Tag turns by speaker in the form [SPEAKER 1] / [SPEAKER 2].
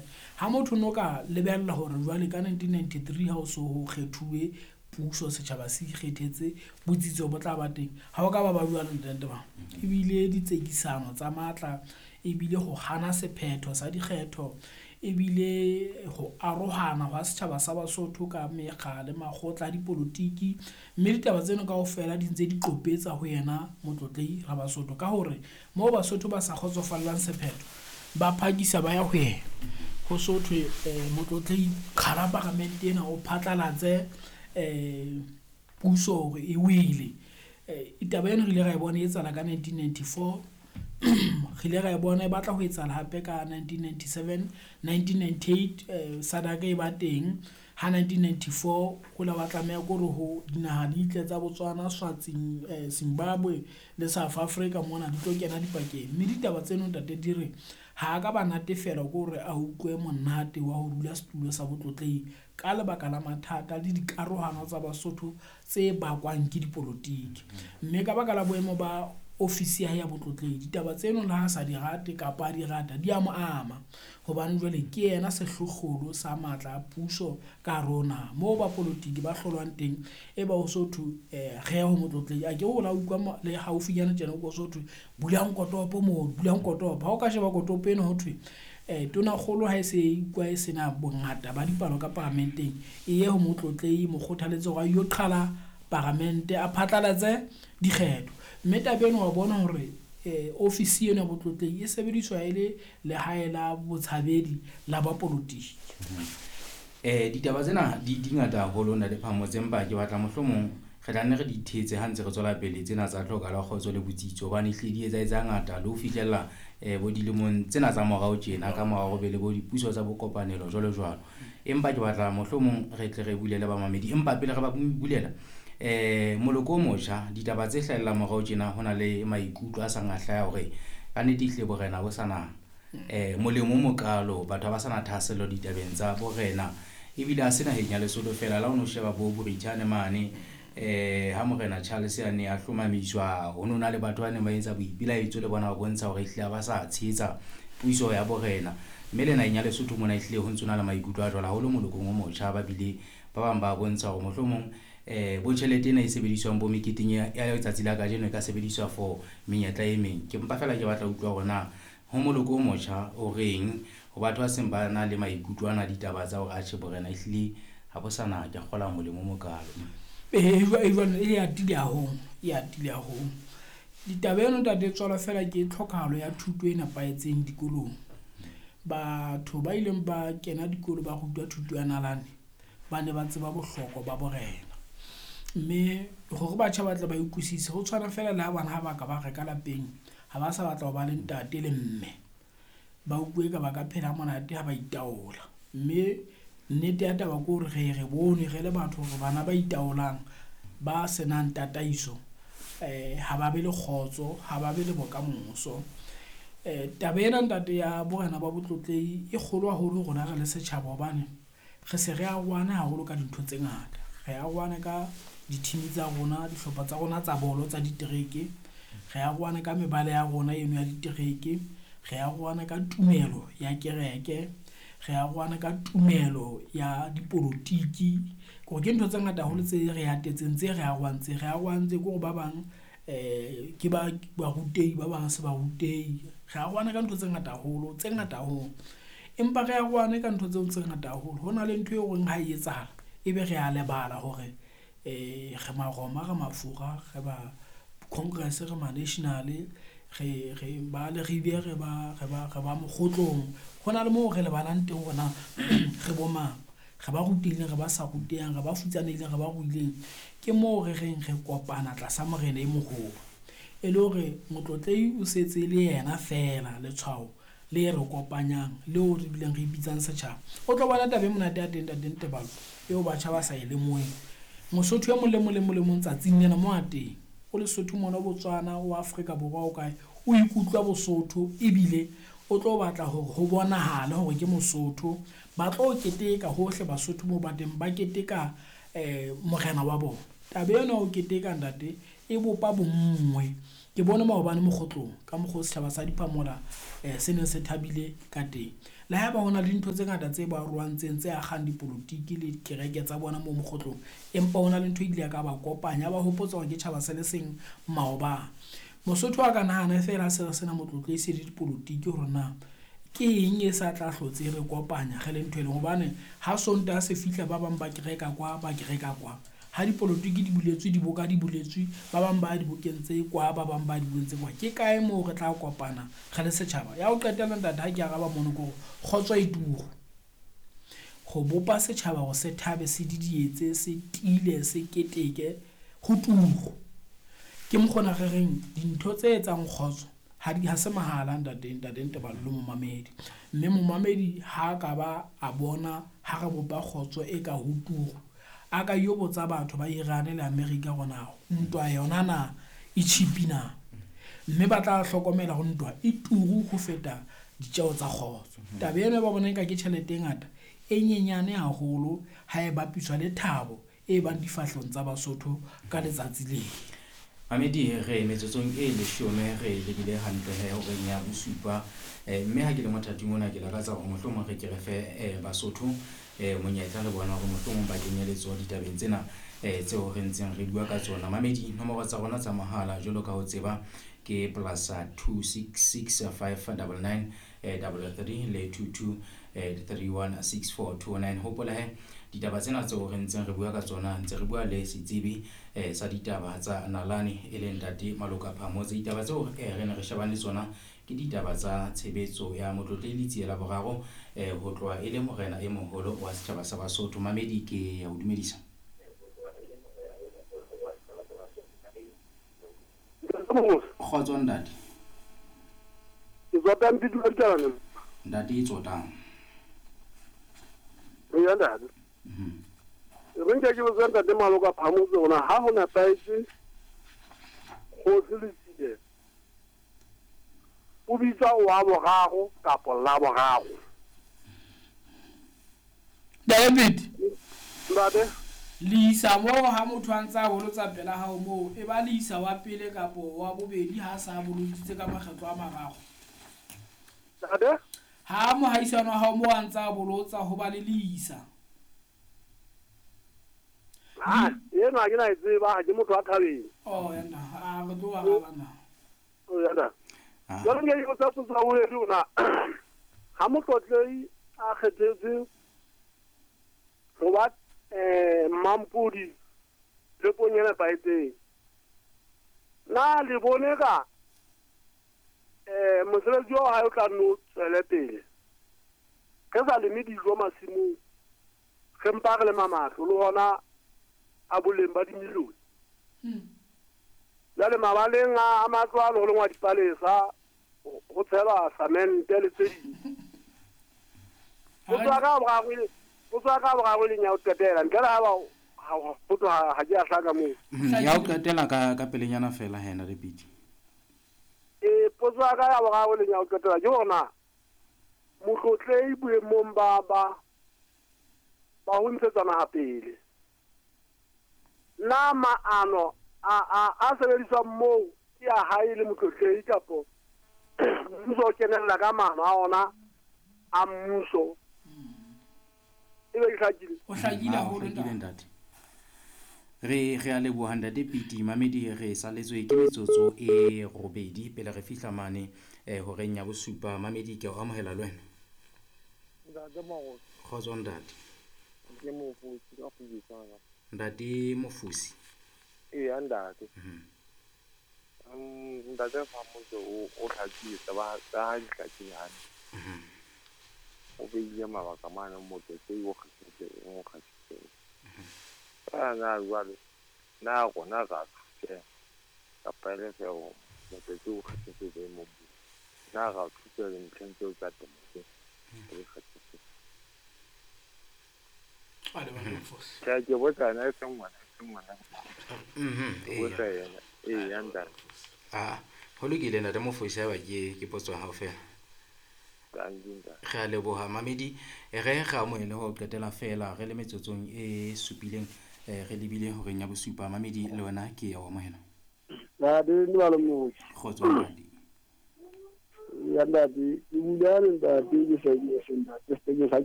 [SPEAKER 1] Hore ha motho no ka lebella hore jwale ka 1993 ha o so ho kgethuwe puso, setjhaba se ikgethetse, botsitso bo tla ba teng. Ha o ka ba ba jwalo ntate Tebang. Ebile ditsekisano tsa matla, ebile ho hana sephetho sa dikgetho, ebile ho arohana hwa setjhaba sa Basotho ka mekga le makgotla a dipolotiki. Mme ditaba tseno kaofela di ntse di qopetsa ho yena Motlotlehi Rabasotho ka hore moo Basotho ba sa kgotsofallang sephetho, ba phakisa ba ya ho yena. Ho so thwe Motlotlehi qhala paramente ena o phatlalatse puso hore e wele. Taba eno re ile ra e bona e etsahala ka 1994, re ile ra e bona e batla ho etsahala hape ka 1997, 1998 SADC e ba teng. Ha 1994 ho la ba tlameha ke hore ho dinaha di tle tsa Botswana, Swatsing, Zimbabwe le South Africa mona di tlo kena dipakeng. Mme ditaba tseno ntate di re ha a ka ba natefelwa ke hore a utlwe monate wa ho dula setulo sa Botlotlehi ka lebaka la mathata le dikarohano tsa Basotho tse bakwang ke dipolotiki. Mme ka baka la boemo ba ofisi ya hae ya Botlotlehi, ditaba tseno le ha sa di rate kapa a di rata, di a mo ama. Hobane jwale ke yena sehlohlolo sa matla a puso ka hare ho naha. Moo bapolotiki ba hlolwang teng, e ba ho so thwe re ye ho Motlotlehi. A ke o la utlwa le haufinyana tjena ho so thwe bulang kotopo moo, bulang kotopo. Ha o ka sheba kotopo eno ho thwe tonakgolo ha e se e utlwa e sena bongata ba dipalo ka paramenteng, e ye ho Motlotlehi, mo kgothaletse hore a yo qhala paramente, a phatlalatse dikgetho. Mme taba eno wa bona hore ofisi eno ya Botlotlehi e sebediswa e le lehae la botshabedi la bapolotiki.
[SPEAKER 2] Ditaba tsena di ngata haholo Ntate Phamotse, empa ke batla mohlomong re tla nne re di thetse ha ntse re tswela pele tsena tsa tlhoka la kgotso le botsitso, hobane ehlile di etsahetse hangata le ho fihlella bo dilemong tsena tsa morao tjena ka mora hore be le bo dipuso tsa bokopanelo jwalo jwalo. Empa ke batla mohlomong re tle re bulele bamamedi, empa pele re ba bulela moloko o motjha, ditaba tse hlahellang morao tjena ho na le maikutlo a sang a hlaya hore ka nnete ehlile borena bo sana molemo o mokalo, batho ha ba sana thahasello ditabeng tsa borena. Ebile ha se naheng ya Lesotho fela, la ho no sheba bo Borithane mane ha Morena Charles a ne a hlomamiswa, ho no na le batho ba neng ba etsa boipelaetso le bona ba bontsha hore ehlile ha ba sa tshehetsa puso ya borena. Mme le naheng ya Lesotho mona ehlile ho ntso na le maikutlo a jwalo haholo molokong o motjha, ba bile ba bang ba bontsha hore mohlomong bo tjhelete ena e sebediswang bo meketeng ya letsatsi la kajeno e ka sebediswa for menyetla e meng. Ke mpa fela ke batla ho utlwa hore na ho moloko o motjha o reng ho batho ba seng ba na le maikutlo ana ditaba tsa hore atjhe borena ehlile ha bo sana ke kgola molemo o mokalo.
[SPEAKER 1] Jwale e atile haholo, e atile haholo. Ditaba eno ntate tswalwa fela ke tlhokahalo ya thuto e nepahetseng dikolong. Batho ba ileng ba kena dikolo ba rutwa thuto ya nalane, ba ne ba tseba bohlokwa ba borena. Mme hore batjha ba tle ba utlwisise, ho tshwana fela le ha bana ha ba ka ba reka lapeng, ha ba sa batla ho ba le ntate le mme. Ba utlwe ka ba ka phela monate ha ba itaola. Mme nnete ya taba ke hore re bone re le batho hore bana ba itaolang, ba senang tataiso, ha ba be le kgotso, ha ba be le bokamoso. Taba ena ntate ya borena ba Botlotlehi e kgolo haholo rona re le setjhaba, hobane re se re arohane haholo ka dintho tse ngata. Re arohane ka di-team tsa rona, dihlopha tsa rona tsa bolo tsa ditereke, re arohane ka mebala ya rona eno ya ditereke, re arohane ka tumelo ya kereke, re arohane ka tumelo ya dipolotiki. Kore ke ntho tse ngata haholo tse re atetseng, tse re arohantseng. Re arohantse ke hore ba bang ke ba barutehi, ba bang se barutehi. Re arohane ka ntho tse ngata haholo, tse ngata haholo. Empa re arohane ka ntho tseo tse ngata haholo. Ho na le ntho eo reng ha e etsahala, ebe re a lebala hore re Maroma, re Mafura, re ba Congress, re ma National, re ba Leribe, re ba Mokgotlong. Ho na le moo re lebalang teng hore na re bo mang, re ba rutehileng, re ba sa rutehang, re ba futsanehileng, re ba ruileng. Ke moo re reng re kopana tlasa morena e moholo. E le hore Motlotlehi o setse le yena fela letshwao le re kopanyang, leo re bileng re ipitsang setjhaba. O tlo bona taba e monate ya teng ntate Tebalo, eo batjha ba sa e lemoheng. Mosotho e mong le mong le mong le mong tsatsing lena mo a teng, o Lesotho mona, o Botswana, o Afrika Borwa, o kae, o ikutlwa Bosotho ebile o tlo batla hore ho bonahale hore ke Mosotho. Ba tlo keteka hohle Basotho moo ba teng, ba keteka morena wa bona. Taba ena ho keteka ntate e bopa bonngwe. Ke bone maobane mokgotlong ka mokgwa o setjhaba sa Diphamola se neng se thabile ka teng. Le haeba ho na le dintho tse ngata tse ba roantseng tse akgang dipolotiki le kereke tsa bona moo mokgotlong, empa ho na le ntho e ile ya ka ba kopanya, ba hopotsa hore ke tjhaba se le seng maobane. Mosotho a ka nahana feela ha se re sena motlotlo e se le dipolotiki hore na ke eng e sa tla hlotse re kopanya re le ntho e leng, hobane ha Sontaha se fihla ba bang ba kereka kwa, ba kereka kwa. Ha dipolotiki di buletswe, diboka di buletswe, ba bang ba dibokeng tse kwa, ba bang ba dibokeng tse kwa. Ke kae moo re tla kopana re le setjhaba? Ya ho qetela ntate, ha ke araba mono ke hore kgotso e turu. Ho bopa setjhaba hore se thabe, se didietse, se tiile, se keteke, ho turu. Ke mokgona re reng dintho tse etsang kgotso ha di ha se mahala ntate, ntate Nteballo momamedi. Mme momamedi ha ka ba a bona ha re bopa kgotso e ka ho turu, a ka yo botsa batho ba Iran le America hore na ntwa yona na e cheap na, mme ba tla hlokomela hore ntwa e turu ho feta ditjeo tsa kgotso. Taba eno ba bona eka ke tjhelete e ngata, e nyenyane haholo ha e bapiswa le thabo e bang difahlehong tsa Basotho ka letsatsi leo.
[SPEAKER 2] Mamedi, re metsotsong e 10 re lebile hantle he horeng ya bosupa. Mme ha ke le mothating ona ke lakatsa hore mohlomong re ke re fe Basotho monyetla le bona hore mohlomong ba kenye letsoho ditabeng tsena tseo re ntseng re bua ka tsona. Mamedi, nomoro tsa rona tsa mohala jwalo ka ho tseba ke plus 266 599 33 le 22 316429. Hopola he ditaba tsena tseo re ntseng re bua ka tsona, ntse re bua le setsebi sa ditaba tsa nalane e leng ntate Maloka Phamotse. Ditaba tseo re ne re shebane le tsona ke ditaba tsa tshebetso ya Motlotlehi Letsie la boraro ho tloha e le morena e moholo wa setjhaba sa Basotho. Mamedi, ke ya o dumedisa. Kgotso ntate.
[SPEAKER 3] Ke tsotang Pidula Dikalane.
[SPEAKER 2] Ntate e tsotang.
[SPEAKER 3] Eya ntate. Re nke ke botsa ntate Maloka Phamotse hore ha ho nepahetse kgosi Letsie o bitsa wa boraro kapa la boraro.
[SPEAKER 1] David.
[SPEAKER 3] Ntate.
[SPEAKER 1] Leisa moo ha motho a ntse a bolotsa pela hao moo, e ba leisa wa pele kapa wa bobedi ha sa boloditse ka makgetlo a mararo.
[SPEAKER 3] Ntate?
[SPEAKER 1] Ha mohaisano wa hao moo a ntse a bolotsa ho ba le leisa.
[SPEAKER 3] Ha, ena ke na e tseba, ha ke motho wa thabeng.
[SPEAKER 1] Oh, yena, a re tlo araba na.
[SPEAKER 3] Oh, yena. Jwale nke ke botsa potso ya bobedi hore ha Motlotlehi a kgethetswe ho ba Mmampodi lepong e nepahetseng, na le bone ka mosebetsi wa hae o tla nno tswele pele? Re sa leme dijo masimong, re mpa re lema matlo le hona a boleng ba dimilione. Jwale mabaleng a matlo a le ho lengwa dipalesa, ho tshelwa samente le tse ding. Ho tswa ka boraro leng ya ho qetela, ntle le ha ba ho tloha ha ke a hlaka moo.
[SPEAKER 2] Ya ho qetela ka pelenyana fela hena le Piti.
[SPEAKER 3] Potso ya ka ya boraro leng ya ho qetela ke hore na Motlotlehi boemong ba ho ntshetsa naha pele, na maano a sebediswang moo ke a hae le Motlotlehi kapo mmuso o kenella ka maano a ona a mmuso? Ebe ke hlakile.
[SPEAKER 1] O hlakile haholo ntate.
[SPEAKER 2] Re a leboha ntate Piti. Mamedi, re saletswe ke metsotso e 8 pele re fihla mane horeng ya bosupa. Mamedi, ke o amohela le wena.
[SPEAKER 4] Ntate Marosi.
[SPEAKER 2] Kgotso ntate.
[SPEAKER 4] Ke Mofosi ka Kgubetsana.
[SPEAKER 2] Ntate Mofosi.
[SPEAKER 4] Eya ntate. Ntate Phamotse o hlakile taba tsa ha di hlakile hantle. O beile mabaka mane Motlotlehi o kgethetseng o kgethetseng. Na jwale na rona ra thuseha kapa e le feela Motlotlehi o kgethetswe boemong bo, na ra thuseha dintlheng tseo tsa temo tse re kgethetseng? Ke botsa yena e seng ngwana, e seng ngwana. Ke botsa yena. Eya ntate.
[SPEAKER 2] Ho lokile ntate Mofosi, haeba ke potso ya hao fela. Re a leboha Mamedi. Re amohele ho qetela fela re le metsotsong e supileng re lebile horeng ya bosupa. Mamedi, le wena ke ya o amohela.
[SPEAKER 3] Ntate Nteballo Mofosi.
[SPEAKER 2] Kgotso ntate.
[SPEAKER 3] Ya ntate, ke bula le ntate ke sa ke se ntate se ke sa